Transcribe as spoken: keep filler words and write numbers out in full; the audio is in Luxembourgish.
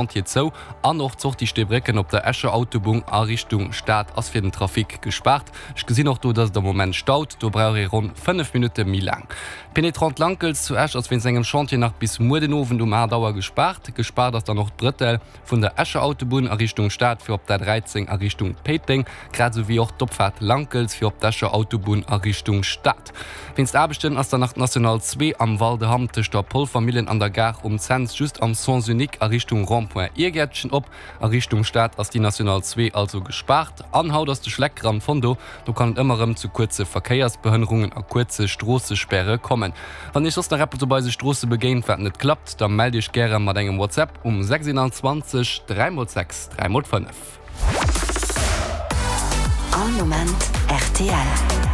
Chantier zou an och d'Sortie Steebrécken op der Escher Autobunn a Richtung Stad ass fir den Trafic gespaart. Ech gesinn och do, dass et am Moment staut, do brauch ee ronn fënnef Minutte méi laang. D'Pénétrante Lankels zu Esch ass wéinst engem Chantier nach bis muer den Owend um aacht Auer gespaart. Gespaart ass dann och d'Brëttel vun der Escher Autobunn a Richtung Stad fir op d'A dräizéng a Richtung Péiteng, grad esou wéi och d'Opfaart Lankels fir op d'Escher Autobunn a Richtung Stad. Wéinst Aarbechten ass dann nach d'National zwee am Val de Hamm tëscht der Polvermillen an der Gare um Cents just am Sens unique a Richtung Rond-point Irgäertchen op. A Richtung Stad ass déi National zwee also gespaart. An haut ass de Schleck Gran Fondo, do kann et ëmmer erëm zu kuerze Verkéiersbehënnerungen a kuerze Stroossespäre kommen. Wann Iech soss nach eppes op eise Stroosse begéint, wat net klappt, da mellt Iech gäre mat engem WhatsApp um sechsundzwanzeg dräi mol sechs dräi mol fënnef. All Moment rtl.